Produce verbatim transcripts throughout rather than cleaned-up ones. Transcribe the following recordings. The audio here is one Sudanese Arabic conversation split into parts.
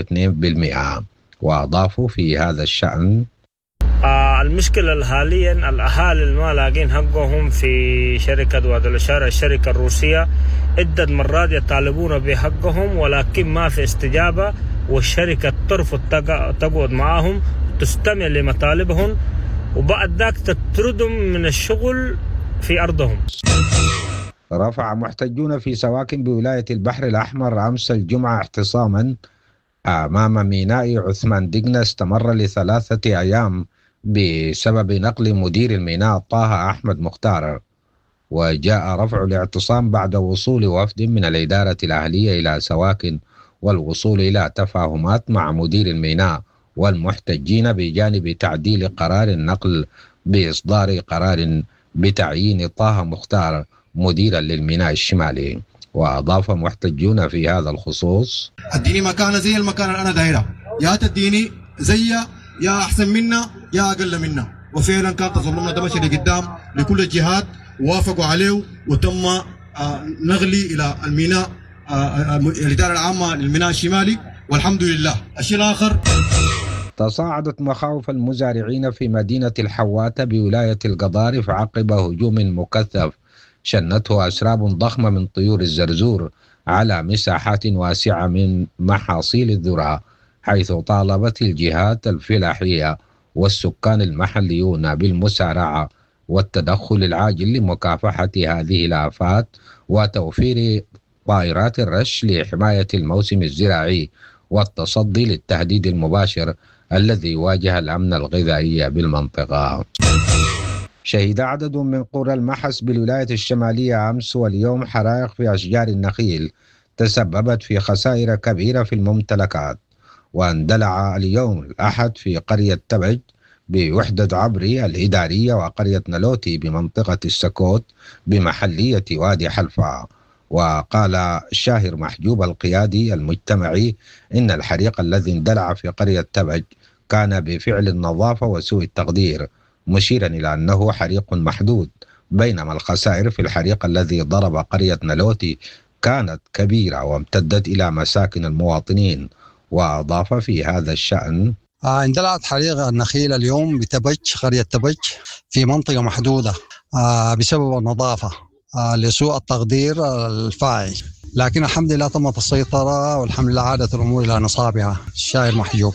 اثنين بالمئة. وأضافوا في هذا الشأن: آه المشكلة حاليا الأهالي اللي ما لاقين حقهم في شركة وادي الأشارة الشركة الروسية، عدة مرات يطالبون بحقهم ولكن ما في استجابة، والشركة ترفض تقعد معاهم تستمع لمطالبهم وبعد ذاك تطردهم من الشغل في أرضهم. رفع محتجون في سواكن بولاية البحر الأحمر أمس الجمعة اعتصاما أمام ميناء عثمان دقنة استمر لثلاثة أيام بسبب نقل مدير الميناء طه أحمد مختار. وجاء رفع الاعتصام بعد وصول وفد من الإدارة الأهلية إلى سواكن والوصول إلى تفاهمات مع مدير الميناء والمحتجين بجانب تعديل قرار النقل بإصدار قرار بتعيين طه مختار مديرا للميناء الشمالي. وأضاف محتجون في هذا الخصوص: اديني مكانة زي المكان اللي أنا دايرة، يا تديني زي يا أحسن منا يا أقل منا. وفعلا كان تظلمنا ده مشي لقدام لكل الجهات وافقوا عليه، وتم نقلي إلى الميناء الإدارة العامة للميناء الشمالي والحمد لله. الشيء الآخر، تصاعدت مخاوف المزارعين في مدينة الحواتة بولاية القضارف عقب هجوم مكثف شنته أسراب ضخمة من طيور الزرزور على مساحات واسعة من محاصيل الذرة، حيث طالبت الجهات الفلاحية والسكان المحليون بالمسارعة والتدخل العاجل لمكافحة هذه الآفات وتوفير طائرات الرش لحماية الموسم الزراعي والتصدي للتهديد المباشر الذي واجه الأمن الغذائي بالمنطقة. شهد عدد من قرى المحس بالولاية الشمالية أمس واليوم حرائق في أشجار النخيل تسببت في خسائر كبيرة في الممتلكات. واندلع اليوم الأحد في قرية تبج بوحدة عبري الإدارية وقرية نلوتي بمنطقة السكوت بمحلية وادي حلفا. وقال شاهر محجوب القيادي المجتمعي إن الحريق الذي اندلع في قرية تبج كان بفعل النظافة وسوء التقدير، مشيرا إلى أنه حريق محدود، بينما الخسائر في الحريق الذي ضرب قرية نلوتي كانت كبيرة وامتدت إلى مساكن المواطنين. وأضاف في هذا الشأن: آه اندلعت حريق النخيل اليوم بتبج، قرية تبج، في منطقة محدودة آه بسبب النظافة آه لسوء التقدير الفاعل، لكن الحمد لله تمت السيطرة والحمد لله عادت الأمور إلى نصابها. الشاعر محجوب.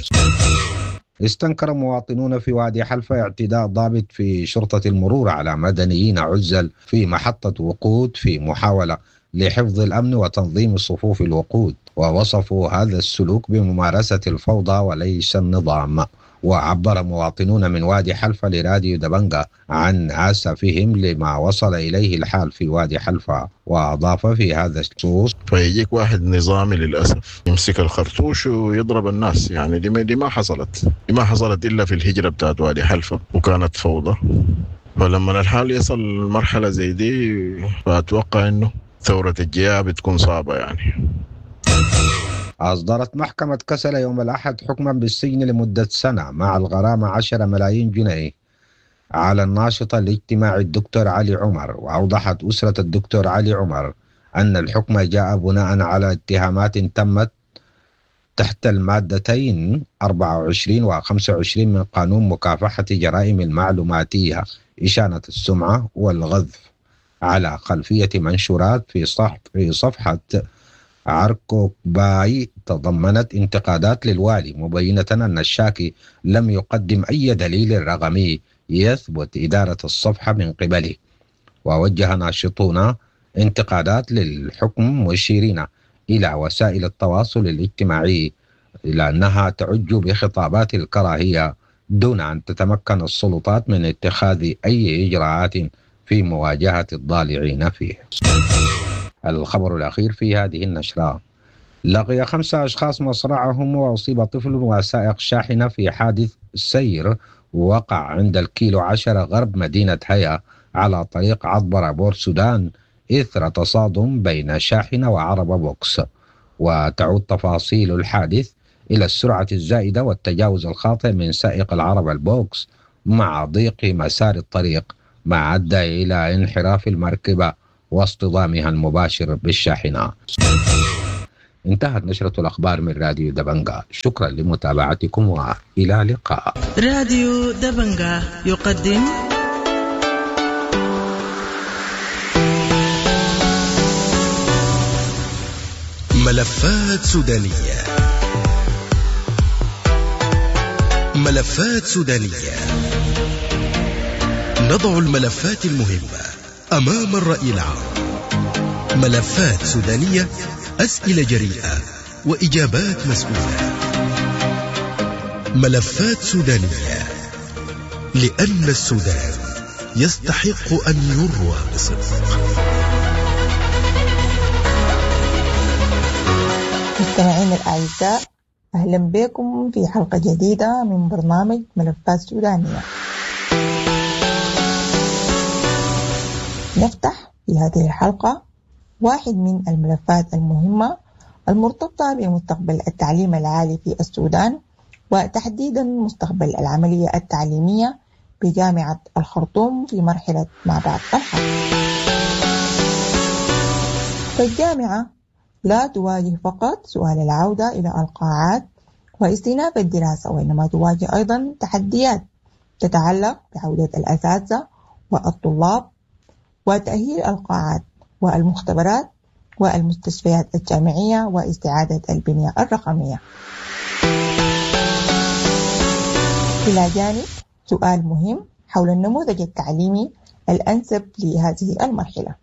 استنكر مواطنون في وادي حلفا اعتداء ضابط في شرطة المرور على مدنيين عزل في محطة وقود في محاولة لحفظ الأمن وتنظيم صفوف الوقود، ووصفوا هذا السلوك بممارسة الفوضى وليس النظام. وعبر مواطنون من وادي حلفا لراديو دبنجا عن آسفهم لما وصل إليه الحال في وادي حلفا. وأضاف في هذا الخصوص: فيجيك واحد نظامي للأسف يمسك الخرطوش ويضرب الناس، يعني دي ما, دي ما حصلت، دي ما حصلت إلا في الهجرة بتاعت وادي حلفا وكانت فوضى. فلما الحال يصل مرحلة زي دي فأتوقع إنه ثورة الجياع بتكون صعبة يعني. أصدرت محكمة كسلا يوم الأحد حكما بالسجن لمدة سنة مع الغرامة عشرة ملايين جنيه على الناشط الاجتماعي الدكتور علي عمر. وأوضحت أسرة الدكتور علي عمر أن الحكم جاء بناء على اتهامات تمت تحت المادتين أربعة وعشرين و خمسة وعشرين من قانون مكافحة جرائم المعلوماتية، إشانة السمعة والغذف، على خلفية منشورات في صح في صفحة عركوباي تضمنت انتقادات للوالي، مبينة أن الشاكي لم يقدم أي دليل رقمي يثبت إدارة الصفحة من قبله. ووجه ناشطون انتقادات للحكم مشيرين إلى وسائل التواصل الاجتماعي إلى أنها تعج بخطابات الكراهية دون أن تتمكن السلطات من اتخاذ أي إجراءات في مواجهة الضالعين فيه. الخبر الأخير في هذه النشرة: لقي خمسة أشخاص مصرعهم وأصيب طفل وسائق شاحنة في حادث سير وقع عند الكيلو عشرة غرب مدينة هيا على طريق عطبرة بور سودان إثر تصادم بين شاحنة وعربة بوكس. وتعود تفاصيل الحادث إلى السرعة الزائدة والتجاوز الخاطئ من سائق العربة البوكس مع ضيق مسار الطريق، ما أدى إلى انحراف المركبة واصطدامها المباشر بالشاحنة. انتهت نشرة الأخبار من راديو دبنجا. شكرا لمتابعتكم وإلى اللقاء. راديو دبنجا يقدم ملفات سودانية. ملفات سودانية، نضع الملفات المهمة أمام الرأي العام. ملفات سودانية، أسئلة جريئة وإجابات مسؤولة. ملفات سودانية، لأن السودان يستحق أن يروى بصدق. مستمعينا الأعزاء، أهلا بكم في حلقة جديدة من برنامج ملفات سودانية. نفتح في هذه الحلقة واحد من الملفات المهمة المرتبطة بمستقبل التعليم العالي في السودان، وتحديدا مستقبل العملية التعليمية بجامعة الخرطوم في مرحلة ما بعد الحرب. فالجامعة لا تواجه فقط سؤال العودة إلى القاعات واستئناف الدراسة، وإنما تواجه أيضا تحديات تتعلق بعودة الأساتذة والطلاب وتأهيل القاعات والمختبرات والمستشفيات الجامعية واستعادة البنية الرقمية. إلى جانب سؤال مهم حول النموذج التعليمي الأنسب لهذه المرحلة،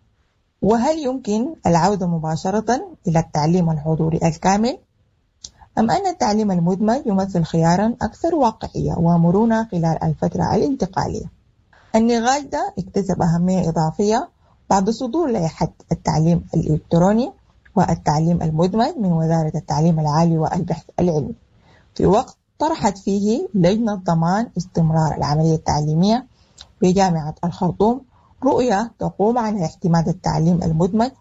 وهل يمكن العودة مباشرة إلى التعليم الحضوري الكامل أم أن التعليم المدمج يمثل خيارا أكثر واقعية ومرونة خلال الفترة الانتقالية؟ النقاش ده اكتسب أهمية إضافية بعد صدور لائحة التعليم الإلكتروني والتعليم المدمج من وزارة التعليم العالي والبحث العلمي، في وقت طرحت فيه لجنة ضمان استمرار العملية التعليمية بجامعة الخرطوم رؤية تقوم على اعتماد التعليم المدمج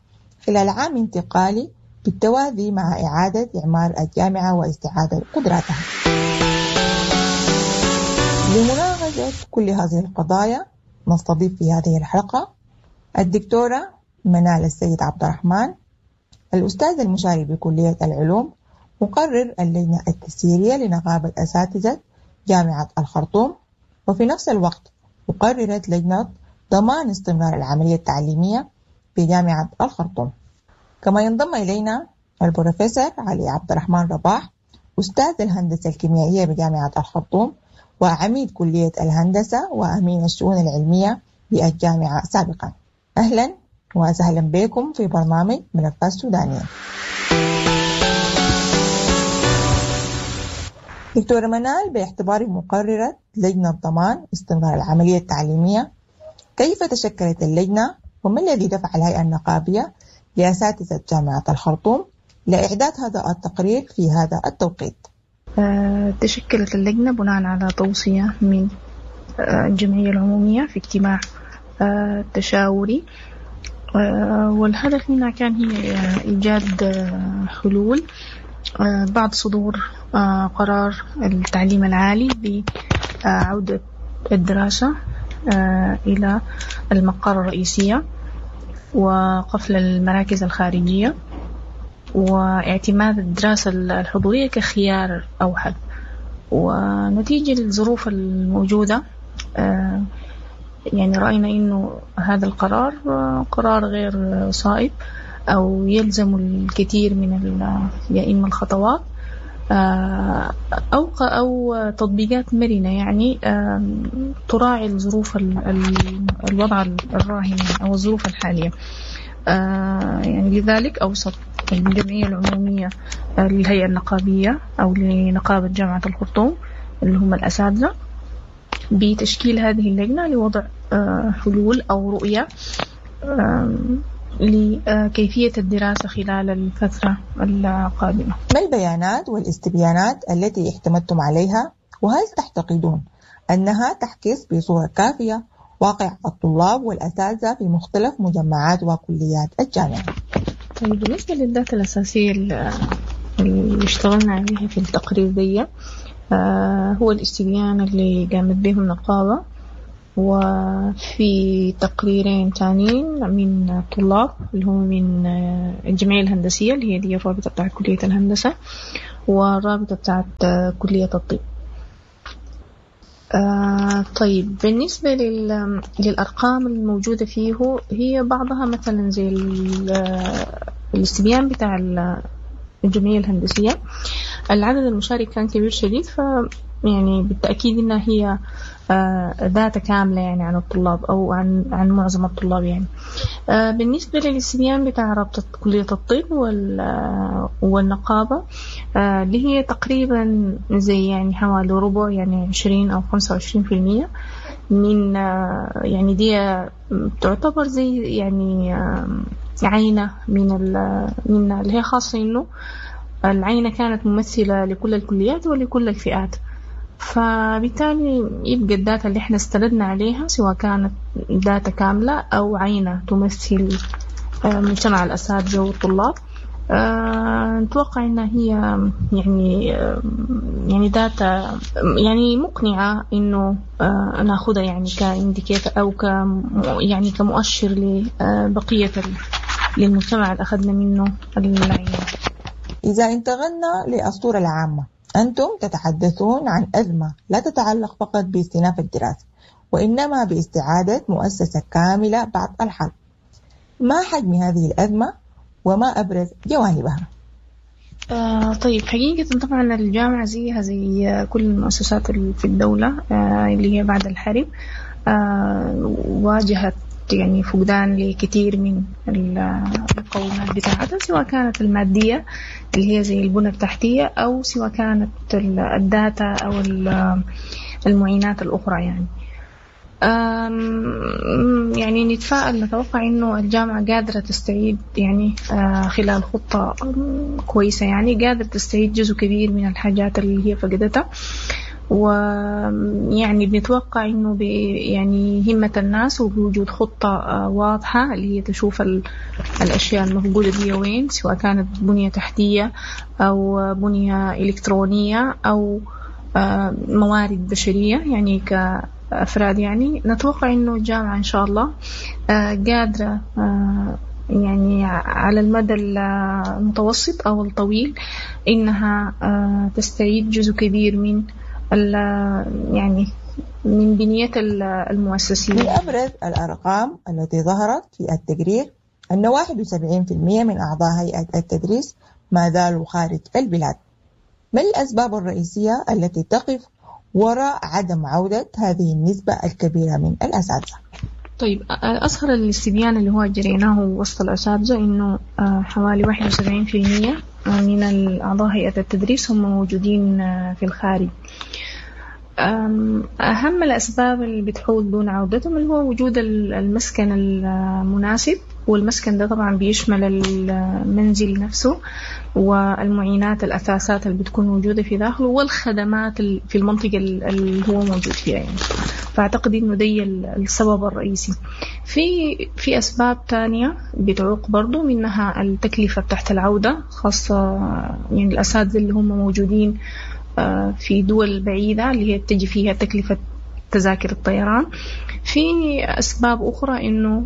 خلال عام انتقالي بالتوازي مع إعادة إعمار الجامعة واستعادة قدراتها. لمناقشة كل هذه القضايا نستضيف في هذه الحلقة الدكتورة منال السيد عبد الرحمن، الأستاذ المشارك بكلية العلوم، مقرر اللجنة التسييرية لنقابة أساتذة جامعة الخرطوم، وفي نفس الوقت مقررة لجنة ضمان استمرار العملية التعليمية في جامعة الخرطوم. كما ينضم إلينا البروفيسور علي عبد الرحمن رباح، أستاذ الهندسة الكيميائية بجامعة الخرطوم وعميد كلية الهندسة وأمين الشؤون العلمية بالجامعة سابقا. أهلا وسهلا بكم في برنامج ملفات سودانية. دكتورة منال، باعتبار مقررة لجنة ضمان استمرار العملية التعليمية، كيف تشكلت اللجنة وما الذي دفع الهيئة النقابية لأساتذة جامعة الخرطوم لإعداد هذا التقرير في هذا التوقيت؟ أه تشكلت اللجنة بناء على توصية من الجمعية العمومية في اجتماع أه تشاوري، أه والهدف منها كان هي إيجاد حلول أه بعد صدور أه قرار التعليم العالي بعودة الدراسة أه إلى المقر الرئيسية وقفل المراكز الخارجية واعتماد الدراسة الحضورية كخيار أوحد. ونتيجة للظروف الموجودة يعني رأينا إنه هذا القرار قرار غير صائب أو يلزم الكثير من يا إما الخطوات أو أو تطبيقات مرنة يعني تراعي الظروف الوضع الراهن أو الظروف الحالية. يعني لذلك أوصت الجمعية العمومية للهيئة النقابية أو لنقابة جامعة الخرطوم اللي هم الأساتذة بتشكيل هذه اللجنة لوضع حلول أو رؤية لكيفية الدراسة خلال الفترة القادمة. ما البيانات والاستبيانات التي اعتمدتم عليها، وهل تعتقدون أنها تحكس بصورة كافية واقع الطلاب والأساتذة في مختلف مجمعات وكليات الجامعة؟ طيب، بالنسبة للداتا الأساسية اللي اشتغلنا عليها في التقرير دي، آه هو الاستبيان اللي قامت به النقابة وفي تقريرين تانيين من الطلاب اللي هم من الجمعية الهندسية اللي هي دي الرابطة بتاعت كلية الهندسة والرابطة بتاعت كلية الطب. آه طيب بالنسبة لل... للأرقام الموجودة فيه، هي بعضها مثلا زي ال... الاستبيان بتاع الجمعية الهندسية، العدد المشارك كان كبير شديد، ف يعني بالتأكيد إنها هي data كاملة يعني عن الطلاب أو عن عن معظم الطلاب يعني. بالنسبة للاستبيان بتاع رابطة كلية الطب والنقابة اللي هي تقريبا زي يعني حوالي ربع، يعني عشرين أو خمسة وعشرين في المية من يعني دي تعتبر زي يعني عينة من من اللي هي خاصة إنه العينة كانت ممثلة لكل الكليات ولكل الفئات، فبالتالي يبقى ال data اللي احنا استندنا عليها سواء كانت data كاملة أو عينة تمثل مجتمع الأساتذة والطلاب، نتوقع إنها هي يعني يعني data يعني مقنعة إنه ناخدها يعني ك indicator أو ك يعني كمؤشر لبقية للمجتمع اللي أخذنا منه العينة. إذا انتقلنا للصورة العامة، أنتم تتحدثون عن أزمة لا تتعلق فقط باستئناف الدراسة، وإنما باستعادة مؤسسة كاملة بعد الحرب. ما حجم هذه الأزمة وما أبرز جوانبها؟ آه طيب حقيقة طبعا الجامعة زيها زي كل المؤسسات في الدولة آه اللي هي بعد الحرب آه واجهت يعني فقدان لكثير من المقومات بتاعتها، سواء كانت المادية اللي هي زي البنى التحتية أو سواء كانت الداتا أو المعينات الأخرى يعني. يعني نتفائل، نتوقع إنه الجامعة قادرة تستعيد يعني خلال خطة كويسة، يعني قادرة تستعيد جزء كبير من الحاجات اللي هي فقدتها، ويعني بنتوقع إنه يعني همة الناس وبوجود خطة واضحة اللي هي تشوف الأشياء المفقودة دي وين، سواء كانت بنية تحتية أو بنية إلكترونية أو موارد بشرية يعني كأفراد. يعني نتوقع إنه الجامعة إن شاء الله قادرة يعني على المدى المتوسط أو الطويل إنها تستعيد جزء كبير من يعني من بنية المؤسسية. من أبرز الأرقام التي ظهرت في التقرير أن واحد وسبعين بالمئة من أعضاء هيئة التدريس ما زالوا خارج البلاد. ما الأسباب الرئيسية التي تقف وراء عدم عودة هذه النسبة الكبيرة من الأساتذة؟ طيب أظهر الاستبيان اللي هو جريناه وسط الأساتذة إنه حوالي واحد وسبعين بالمئة من الأعضاء هيئة التدريس هم موجودين في الخارج. أهم الأسباب اللي بتحول دون عودتهم اللي هو وجود المسكن المناسب، والمسكن ده طبعا بيشمل المنزل نفسه والمعينات الأثاثات اللي بتكون موجودة في داخله والخدمات في المنطقة اللي هو موجود فيها يعني. فأعتقد إنه دي السبب الرئيسي. في في أسباب تانية بتعوق برضو، منها التكلفة تحت العودة، خاصة يعني الأساتذة اللي هم موجودين في دول بعيدة اللي هي تجي فيها تكلفة تذاكر الطيران. في أسباب أخرى إنه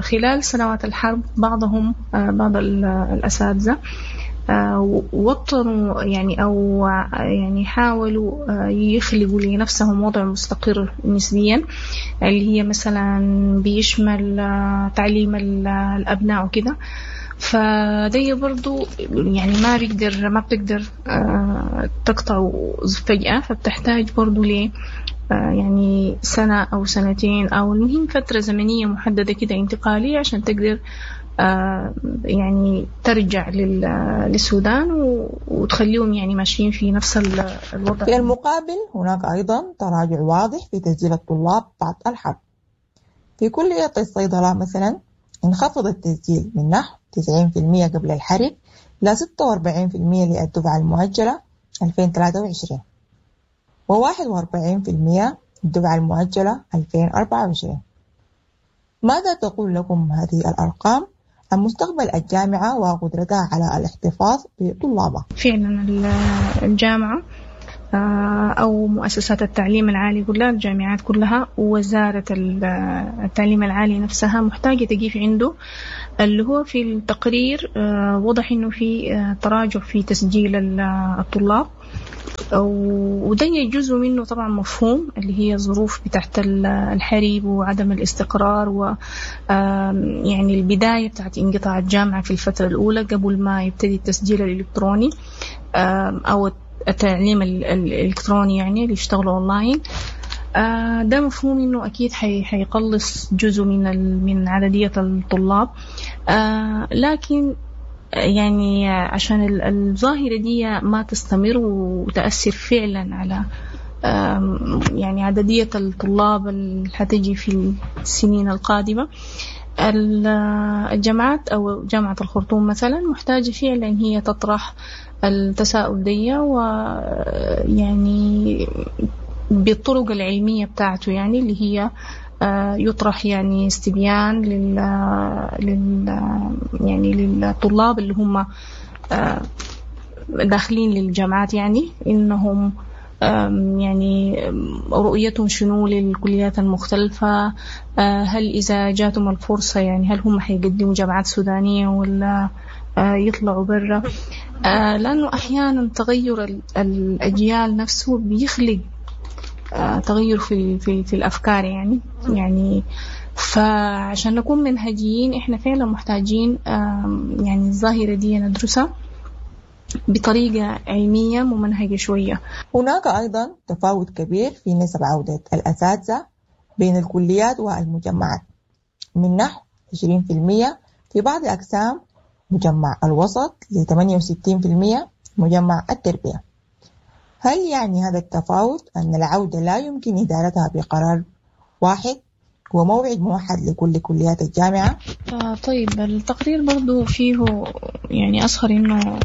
خلال سنوات الحرب بعضهم بعض الأساتذة وطنوا يعني أو يعني حاولوا يخلقوا لنفسهم وضع مستقر نسبيا، اللي هي مثلا بيشمل تعليم الأبناء وكده. فدي برضو يعني ما بيقدر ما بتقدر تقطع فجأة، فبتحتاج برضو ل يعني سنة أو سنتين أو المهم فترة زمنية محددة كده انتقالية عشان تقدر يعني ترجع للسودان وتخليهم يعني ماشيين في نفس الوضع. في المقابل هناك أيضا تراجع واضح في تسجيل الطلاب بعد الحرب. في كلية الصيدلة مثلا انخفض التسجيل من نحو تسعين بالمئة قبل الحرب إلى ستة وأربعين بالمئة للدفعة المؤجلة ألفين وثلاثة وعشرين وواحد وأربعين بالمئة الدفعة المؤجلة ألفين وأربعة وعشرين. ماذا تقول لكم هذه الأرقام عن مستقبل الجامعة وقدرتها على الاحتفاظ بطلابها؟ فعلا الجامعة أو مؤسسات التعليم العالي كلها، الجامعات كلها، ووزارة التعليم العالي نفسها محتاجة تقيف عنده، اللي هو في التقرير وضح إنه في تراجع في تسجيل الطلاب، وده جزء منه طبعا مفهوم اللي هي الظروف بتاعت الحرب وعدم الاستقرار و يعني البداية بتاعت انقطاع الجامعة في الفترة الأولى قبل ما يبتدي التسجيل الإلكتروني أو التعليم الإلكتروني يعني اللي يشتغلوا أونلاين. ده مفهوم إنه أكيد حيقلص جزء من من عددية الطلاب، لكن يعني عشان الظاهرة دي ما تستمر وتأثر فعلا على يعني عددية الطلاب اللي حتجي في السنين القادمة، الجامعات أو جامعة الخرطوم مثلا محتاجة فعلا هي تطرح التساؤل دي، ويعني بالطرق العلمية بتاعته، يعني اللي هي يطرح يعني استبيان لل, لل يعني للطلاب اللي هم داخلين للجامعات، يعني إنهم يعني رؤيتهم شنو للكليات المختلفة، هل إذا جاتهم الفرصة يعني هل هم حيقدموا جامعات سودانية ولا يطلعوا برا، لأنه أحيانا تغير الأجيال نفسه بيخلق تغير في في في الأفكار يعني يعني فعشان نكون منهجيين إحنا فعلا محتاجين يعني الظاهرة دي ندرسها بطريقة علمية ممنهجة شوية. هناك أيضا تفاوت كبير في نسب عودة الأساتذة بين الكليات والمجمعات، من نحو عشرين بالمئة في بعض أقسام مجمع الوسط ل ثمانية وستين بالمئة مجمع التربية. هل يعني هذا التفاوت أن العودة لا يمكن إدارتها بقرار واحد وموعد موحد لكل كليات الجامعة؟ آه طيب التقرير برضو فيه يعني أظهر إنه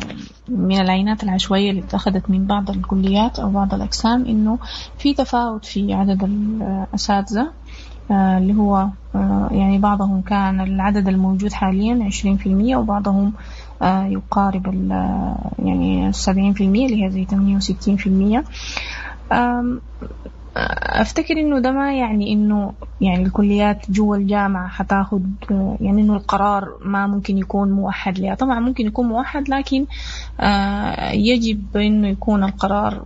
من العينات العشوائية اللي اتخذت من بعض الكليات أو بعض الأقسام إنه في تفاوت في عدد الأساتذة، آه اللي هو آه يعني بعضهم كان العدد الموجود حاليا عشرين في المية وبعضهم آه يقارب يعني سبعين في المية اللي هي زي ثمانية وستين في المية. أفتكر إنه ده ما يعني إنه يعني الكليات جوا الجامعة حتاخد يعني إنه القرار ما ممكن يكون موحد لها، طبعا ممكن يكون موحد، لكن يجب إنه يكون القرار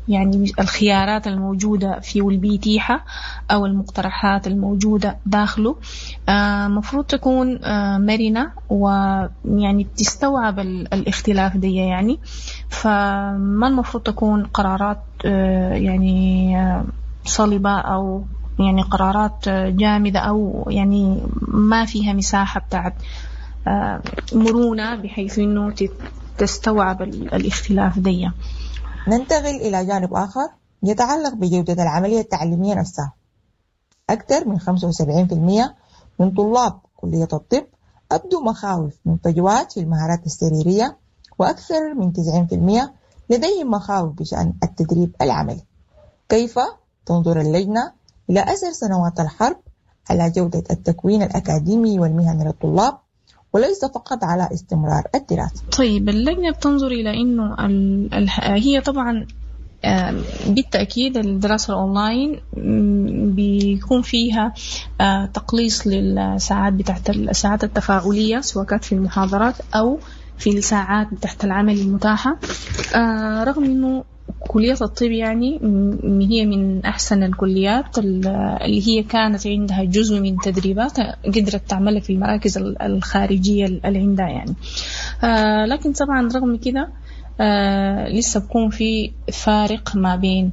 يعني الخيارات الموجودة فيه والبيتيحة أو المقترحات الموجودة داخله مفروض تكون مرنة ويعني بتستوعب الاختلاف دي يعني، فما المفروض تكون قرارات يعني صلبة أو يعني قرارات جامدة أو يعني ما فيها مساحة بتاعت مرونة بحيث إنه تستوعب الاختلاف دي. ننتقل إلى جانب آخر يتعلق بجودة العملية التعليمية نفسها. أكثر من خمسة وسبعين بالمئة من طلاب كلية الطب أبدوا مخاوف من فجوات في المهارات السريرية، وأكثر من تسعين بالمئة لديهم مخاوف بشأن التدريب العملي. كيف تنظر اللجنة إلى أثر سنوات الحرب على جودة التكوين الأكاديمي والمهني للطلاب وليس فقط على استمرار الدراسة؟ طيب اللجنة بتنظر إلى إنه ال... ال... هي طبعا بالتأكيد الدراسة الأونلاين بيكون فيها تقليص للساعات بتاعت الساعات التفاعلية سواء كانت في المحاضرات أو في الساعات بتاعت العمل المتاحة، رغم إنه كلية الطب يعني هي من أحسن الكليات اللي هي كانت عندها جزء من تدريبات قدرت تعملها في المراكز الخارجية اللي عندها يعني، لكن طبعا رغم كده لسه بكون في فارق ما بين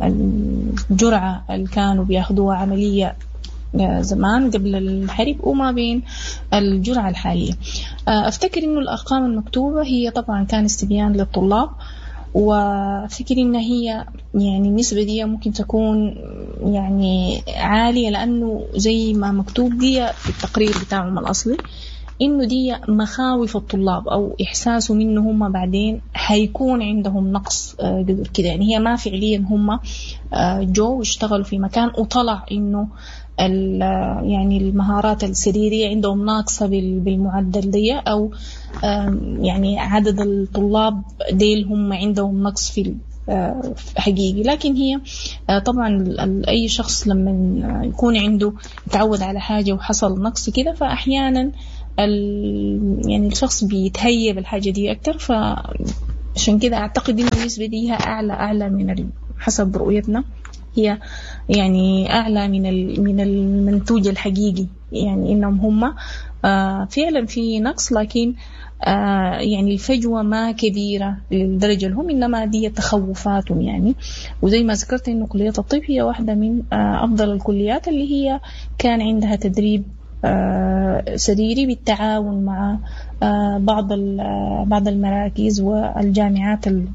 الجرعة اللي كانوا بياخدوها عملية زمان قبل الحرب وما بين الجرعة الحالية. أفتكر إنه الأرقام المكتوبة هي طبعا كان استبيان للطلاب، وأفتكر إن هي يعني النسبة دي ممكن تكون يعني عالية لأنه زي ما مكتوب دي في التقرير بتاعهم الأصلي إنه دي مخاوف الطلاب أو إحساسهم إنه هم بعدين حيكون عندهم نقص قدر كده. يعني هي ما فعليا هم جو واشتغلوا في مكان وطلع إنه يعني المهارات السريرية عندهم ناقصة بالمعدل دي، أو يعني عدد الطلاب ديل هم عندهم نقص في حقيقي. لكن هي طبعا أي شخص لما يكون عنده تعود على حاجة وحصل نقص كده، فأحيانا يعني الشخص بيتهيأ بالحاجة دي أكتر. فعشان كده أعتقد إن النسبة دي أعلى أعلى من حسب رؤيتنا، هي يعني أعلى من من المنتوج الحقيقي، يعني إنهم هم فعلا في نقص، لكن يعني الفجوة ما كبيرة للدرجة لهم، إنما دي تخوفاتهم يعني. وزي ما ذكرت إنه كلية الطب هي واحدة من أفضل الكليات اللي هي كان عندها تدريب سريري بالتعاون مع بعض بعض المراكز والجامعات اللي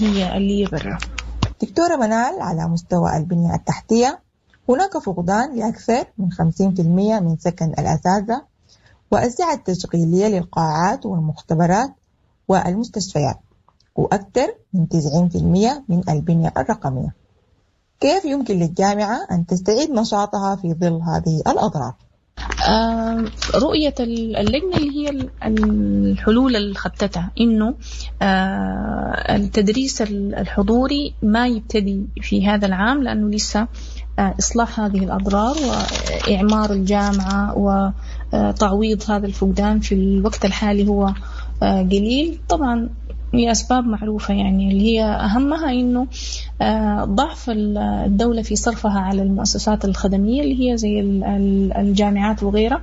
هي اللي هي برا. دكتورة منال، على مستوى البنية التحتية هناك فقدان لأكثر من خمسين بالمئة من سكن الأساتذة والسعة التشغيلية للقاعات والمختبرات والمستشفيات، وأكثر من تسعين بالمئة من البنية الرقمية. كيف يمكن للجامعة أن تستعيد نشاطها في ظل هذه الأضرار؟ آه رؤية اللجنة اللي هي الحلول اللي خطتها إنه آه التدريس الحضوري ما يبتدي في هذا العام، لأنه لسه آه إصلاح هذه الأضرار وإعمار الجامعة وتعويض هذا الفقدان في الوقت الحالي هو آه قليل. طبعا لأسباب معروفة، يعني اللي هي أهمها إنه ضعف الدولة في صرفها على المؤسسات الخدمية اللي هي زي الجامعات وغيرها،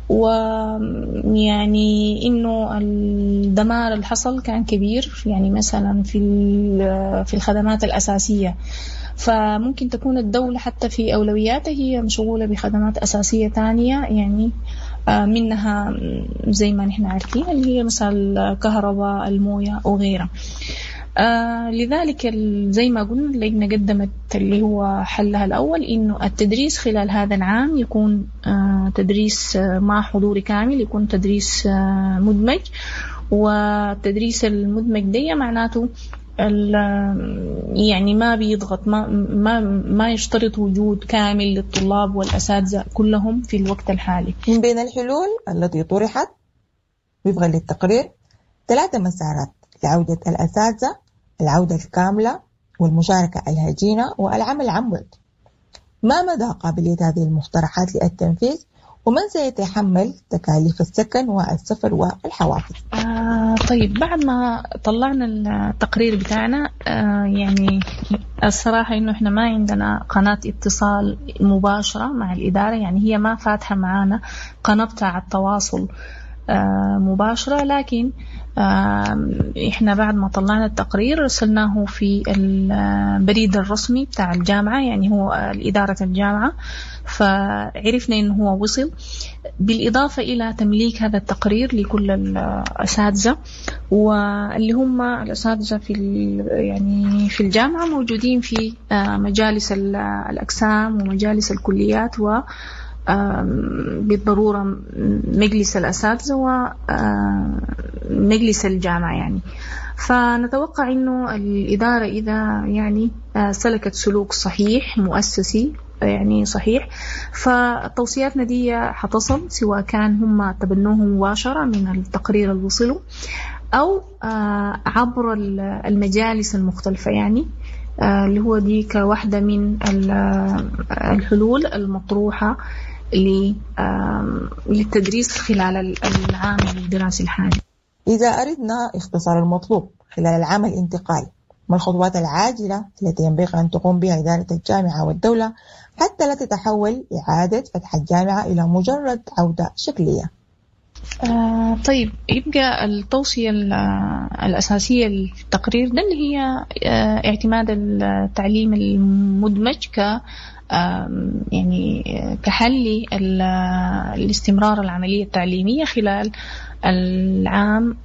ويعني إنه الدمار اللي حصل كان كبير، يعني مثلا في في الخدمات الأساسية، فممكن تكون الدولة حتى في أولوياتها هي مشغولة بخدمات أساسية تانية، يعني منها زي ما نحن عارفين اللي هي مثلا الكهرباء، الموية وغيرها. آه لذلك زي ما قلنا اللجنة قدمت اللي هو حلها الأول إنه التدريس خلال هذا العام يكون آه تدريس آه مع حضور كامل، يكون تدريس آه مدمج. والتدريس المدمج دي معناته يعني ما بيضغط، ما ما ما يشترط وجود كامل للطلاب والأساتذة كلهم في الوقت الحالي. من بين الحلول التي طرحت وفقا للتقرير ثلاثة مسارات لعودة الأساتذة: العودة الكاملة، والمشاركة الهجينة، والعمل عن بعد. ما مدى قابلية هذه المقترحات للتنفيذ، ومن سيتحمل تكاليف السكن والسفر والحوافز؟ آه طيب، بعد ما طلعنا التقرير بتاعنا آه يعني الصراحة إنه إحنا ما عندنا قناة اتصال مباشرة مع الإدارة، يعني هي ما فاتحة معانا قناة بتاع التواصل آه مباشرة، لكن آه إحنا بعد ما طلعنا التقرير رسلناه في البريد الرسمي بتاع الجامعة، يعني هو الإدارة الجامعة، فعرفنا إنه هو وصل. بالإضافة إلى تمليك هذا التقرير لكل الأساتذة، واللي هم الأساتذة في يعني في الجامعة موجودين في مجالس الأقسام ومجالس الكليات، و بالضرورة مجلس الأساتذة ومجلس الجامعة يعني. فنتوقع إنه الإدارة إذا يعني سلكت سلوك صحيح مؤسسي يعني صحيح، فتوصياتنا دي حتصل، سواء كان هم تبنوه مباشرة من التقرير اللي وصلوا أو عبر المجالس المختلفة، يعني اللي هو دي كواحدة من الحلول المطروحة للتدريس خلال العام الدراسي الحالي. إذا أردنا اختصار المطلوب خلال العام الانتقالي، ما الخطوات العاجلة التي ينبغي أن تقوم بها إدارة الجامعة والدولة حتى لا تتحول إعادة فتح الجامعة إلى مجرد عودة شكلية؟ آه طيب، يبقى التوصية الأساسية للتقرير ده اللي هي آه اعتماد التعليم المدمج ك يعني كحل الاستمرار العملية التعليمية خلال العام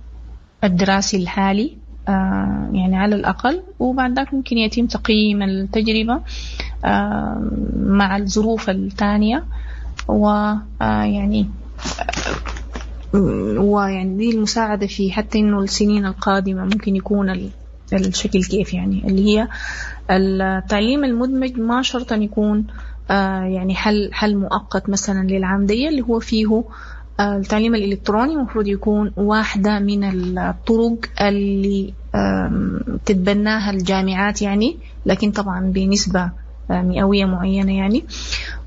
الدراسي الحالي، آه يعني على الأقل، وبعد ذاك ممكن يتم تقييم التجربة آه مع الظروف الثانية، ويعني ويعني دي المساعدة في حتى إنه السنين القادمة ممكن يكون الشكل كيف، يعني اللي هي التعليم المدمج ما شرط أن يكون يعني حل حل مؤقت مثلا للعام دي، اللي هو فيه التعليم الإلكتروني المفروض يكون واحدة من الطرق اللي تتبناها الجامعات يعني، لكن طبعا بنسبة مئوية معينة يعني.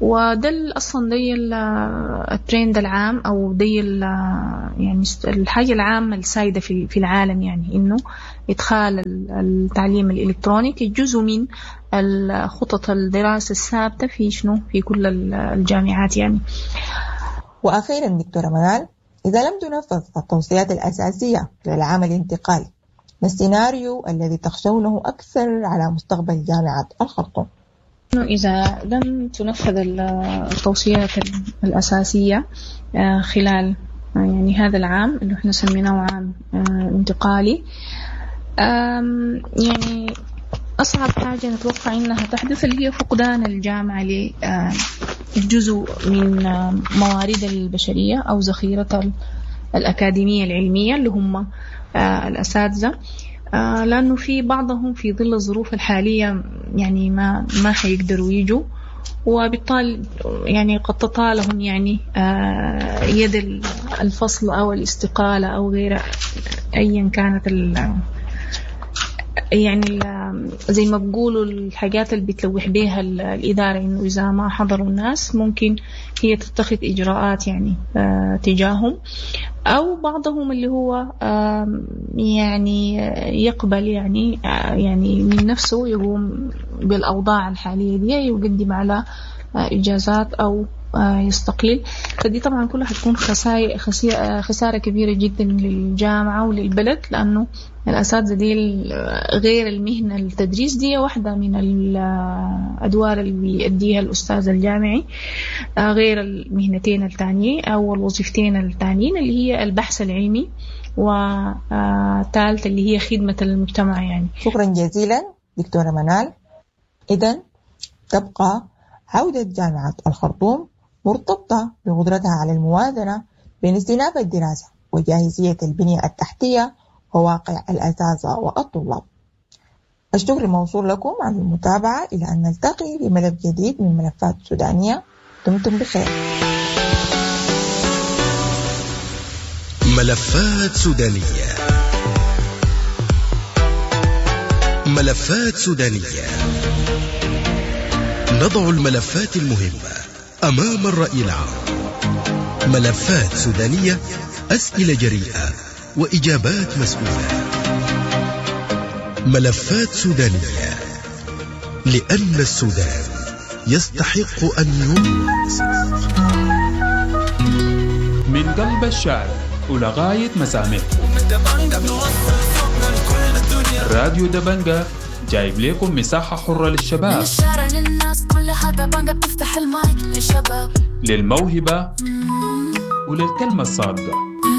وده أصلا دي الترند العام أو دي يعني الحاجة العامة السائدة في في العالم، يعني إنه إدخال التعليم الإلكتروني كجزء من الخطط الدراسة الثابتة في شنو في كل الجامعات يعني. وأخيرا دكتورة منال، إذا لم تنفذ التوصيات الأساسية للعام الانتقالي، ما السيناريو الذي تخشونه أكثر على مستقبل جامعة الخرطوم؟ إذا لم تنفذ التوصيات الأساسية خلال يعني هذا العام اللي احنا سميناه عام انتقالي، يعني أصعب حاجة نتوقع إنها تحدث اللي هي فقدان الجامعة لجزء من موارد البشرية أو ذخيرتها الأكاديمية العلمية اللي هم الأساتذة، لأنه في بعضهم في ظل الظروف الحالية يعني ما ما حيقدروا يجوا، وبالتالي يعني قد تطالهم يعني يد الفصل أو الاستقالة أو غيره، أيا كانت ال يعني زي ما بقولوا الحاجات اللي بتلوح بيها الإدارة، إنه إذا ما حضروا الناس ممكن هي تتخذ إجراءات يعني تجاههم، أو بعضهم اللي هو يعني يقبل يعني يعني من نفسه يقوم بالأوضاع الحالية دي، يقدم على إجازات أو يستقيل. فدي طبعا كلها حتكون خسائر خسارة كبيرة جدا للجامعة وللبلد، لأنه الأساتذة دي غير المهنة التدريس دي واحدة من الأدوار اللي بيأديها الأستاذ الجامعي، غير المهنتين التانيين أو الوظيفتين التانيين اللي هي البحث العلمي وثالث اللي هي خدمة المجتمع يعني. شكرا جزيلا دكتورة منال. إذن تبقى عودة جامعة الخرطوم مرتبطة بقدرتها على الموازنة بين استئناف الدراسة وجاهزية البنية التحتية وواقع الأساتذة والطلاب. الشكر موصول لكم على المتابعة، إلى أن نلتقي بملف جديد من ملفات سودانية. دمتم بخير. ملفات سودانية، ملفات سودانية، نضع الملفات المهمة أمام الرأي العام. ملفات سودانية، أسئلة جريئة وإجابات مسؤولة. ملفات سودانية، لأن السودان يستحق أن يروى. من قلب الشارع ولغاية مسامع راديو دبنجة جايب لكم مساحة حرة للشباب، من الشارع للناس كلها دبنجة بتفتح المايك للشباب، للموهبة وللكلمة الصادقة.